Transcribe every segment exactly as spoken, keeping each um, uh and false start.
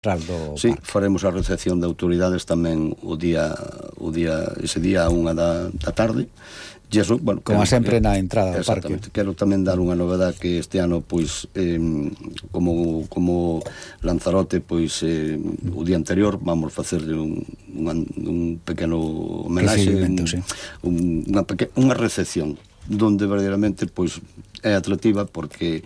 Do sí, parque. faremos a recepción de autoridades tamén o día, o día ese día a unha da, da tarde. E eso, bueno, como quero, sempre eh, na entrada do parque. Quero tamén dar unha novedade que este ano, pois, eh, como, como Lanzarote, pois, eh, o día anterior vamos facerle un, un, un pequeno homenaxe, un, sí. un, unha, peque, unha recepción, donde verdadeiramente, pois, é atractiva porque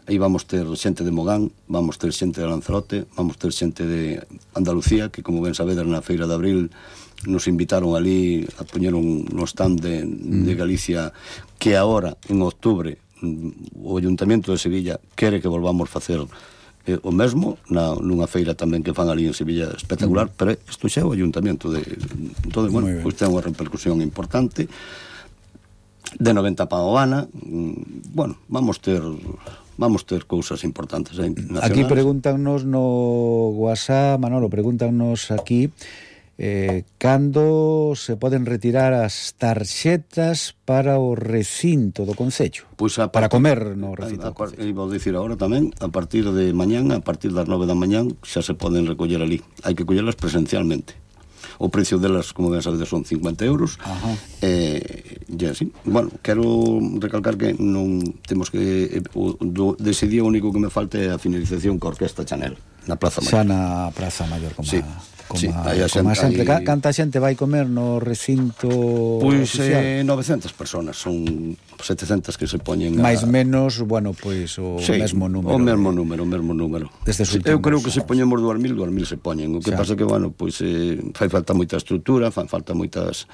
aí vamos ter xente de Mogán, vamos ter xente de Lanzarote, vamos ter xente de Andalucía, que como ben sabedes na Feira de Abril nos invitaron ali a poñer un no stand de, mm. de Galicia, que agora, en outubro, o Ayuntamiento de Sevilla quere que volvamos facer eh, o mesmo, na, nunha feira tamén que fan ali en Sevilla espectacular, mm. pero isto xa é o Ayuntamiento de... Entón, bueno, pois ten unha repercusión importante de noventa pa o Ana. Bueno, vamos ter... vamos ter cousas importantes eh, nacionais. Aquí pregúntanos no WhatsApp, Manolo, pregúntanos aquí eh, cando se poden retirar as tarxetas para o recinto do Concello, pues a para partir, comer no recinto a, a, a, vou dicir agora tamén, a partir de mañán, a partir das nove da mañán xa se poden recoller ali, hai que collelas presencialmente. O precio delas, como ben sabedes, son cincuenta euros. Ajá. Eh, e así, bueno, quero recalcar que non temos que eh, o, do, dese día o único que me falta é a finalización ca Orquesta Chanel na Praza Mayor. Xa na Praza Mayor, como sí. a... Como, sí, a, como a sempre. Aí... Canta xente vai comer no recinto pois oficial? Eh, novecentas personas, son setecentas que se poñen a... máis menos, bueno, pois o sí, mesmo número. o mesmo de... número, o mesmo número. Desde sí, eu creo que se poñemos dúas mil, dúas mil se poñen. O que xa. Pasa que, bueno, pois eh, fai falta moita estrutura, fai falta moitas...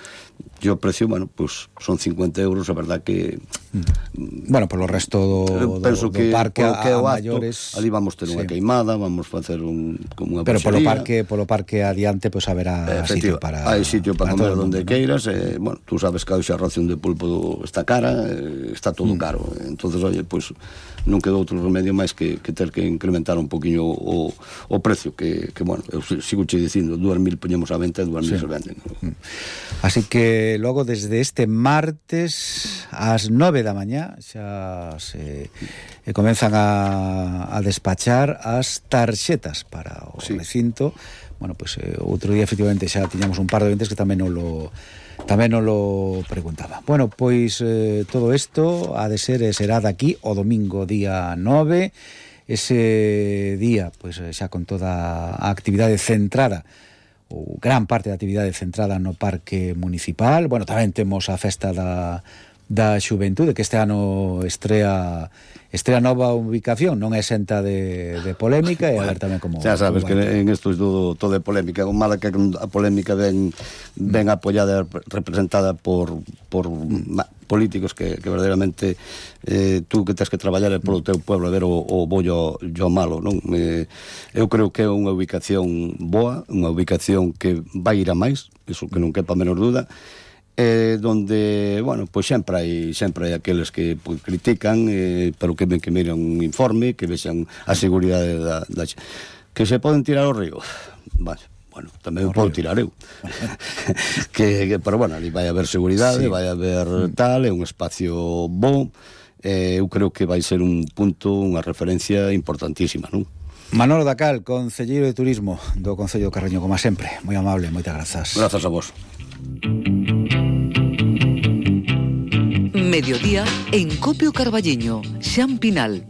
E o precio, bueno, pois son cincuenta euros, a verdad que... Mm. Bueno, polo resto do, penso do, do que, parque a, que a acto, maiores... ali vamos ter unha sí. queimada, vamos facer un, como unha pero polo boxería. parque, polo parque adiante, pois pues, haberá sitio para... Hai sitio para, para comer onde ¿no? queiras, eh, bueno, tú sabes que a ración de pulpo está cara, eh, está todo mm. caro, entonces, oye, pois pues, non quedou outro remedio máis que, que ter que incrementar un poquinho o, o precio, que, que, bueno, eu sigo che dicindo, dúas mil poñemos a venta e dúas mil sí. se venden. Mm. Así que logo desde este martes ás nove da mañá xa se eh, comenzan a, a despachar as tarxetas para o sí. recinto. Bueno, pois pues, eh, outro día efectivamente xa tiñamos un par de ventes que tamén non lo tamén non lo preguntaba. Bueno, pois eh, todo isto ha de ser e será daqui o domingo día nove. Ese día, pois pues, xa con toda a actividade centrada, ou gran parte da actividade centrada no Parque Municipal. Bueno, tamén temos a festa da da Xuventude, que este ano estrea estrea nova ubicación, non é exenta de, de polémica, e a ver tamén como... Xa sabes que en isto é todo, todo é polémica, o mala que a polémica ven, ven apoyada, representada por, por mm. políticos que, que verdadeiramente eh, tú que tens que traballar polo teu pueblo a ver o, o bollo o malo, non? Eh, eu creo que é unha ubicación boa, unha ubicación que vai ir a máis, iso que non quepa menor duda, eh, donde, bueno, pois sempre hai sempre hai aqueles que pois, critican, eh, pero que ven que miran un informe, que vexan a seguridade da, da que se poden tirar ao río. Vale, bueno, tamén o podo tirar eu. que, que, pero bueno, ali vai haber seguridade, sí. vai haber tal, é un espacio bo, eh, eu creo que vai ser un punto, unha referencia importantísima, non? Manolo Dacal, concelleiro de Turismo do Concello do Carreño, como sempre, moi amable, moitas grazas. Grazas a vos. Mediodía en Copio Carballiño, Xan Pinal.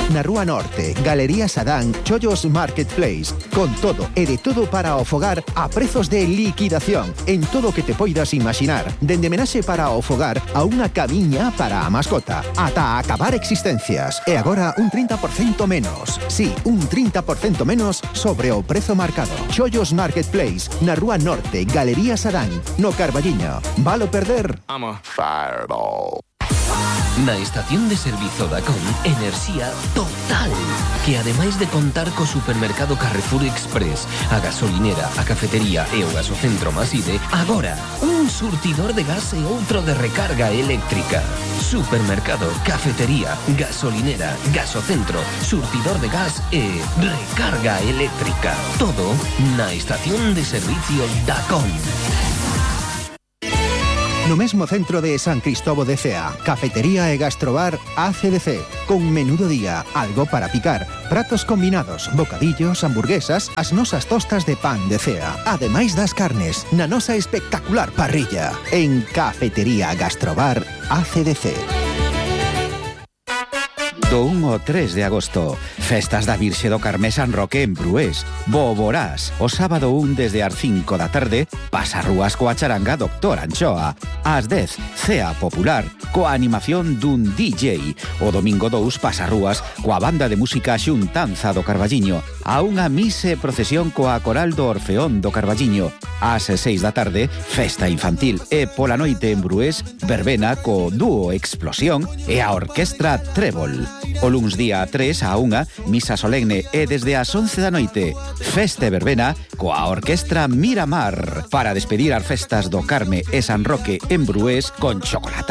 Na Rúa Norte, Galería Sadán, Chollos Marketplace, con todo e de todo para o fogar a prezos de liquidación en todo o que te poidas imaginar, dende menaxe para o fogar a unha camiña para a mascota, ata acabar existencias. E agora un trinta por cento menos. Sí, un trinta por cento menos sobre o prezo marcado. Chollos Marketplace, na Rúa Norte, Galería Sadán, no Carballiño. Valo perder? I'm a fireball. Na estación de servizo Dacom, enerxía total, que ademais de contar co supermercado Carrefour Express, a gasolinera, a cafetería e o gasocentro Maside, agora un surtidor de gas e outro de recarga eléctrica. Supermercado, cafetería, gasolinera, gasocentro, surtidor de gas e recarga eléctrica. Todo na estación de servicio Dacom. No mesmo centro de San Cristóbal de Cea, cafetería e gastrobar A C D C, con menú do día, algo para picar, pratos combinados, bocadillos, hamburguesas, as nosas tostas de pan de Cea, ademais das carnes, na nosa espectacular parrilla, en Cafetería Gastrobar A C D C. Do un ao tres de agosto, festas da Virxe do Carmé San Roque en Brués. Boborás, o sábado un desde as cinco da tarde, pasarrúas coa charanga Doctor Anchoa. Ás dez, cea popular, coa animación dun D J. O domingo dous, pasarrúas coa banda de música Xuntanza do Carballiño. A unha mise procesión coa coral do Orfeón do Carballiño. Ás seis da tarde, festa infantil. E pola noite en Brués, verbena co dúo Explosión e a orquestra Trébol. O luns día tres a unha, misa solemne e desde as once da noite, festa e verbena coa orquestra Miramar para despedir as festas do Carme e San Roque en Brués con chocolate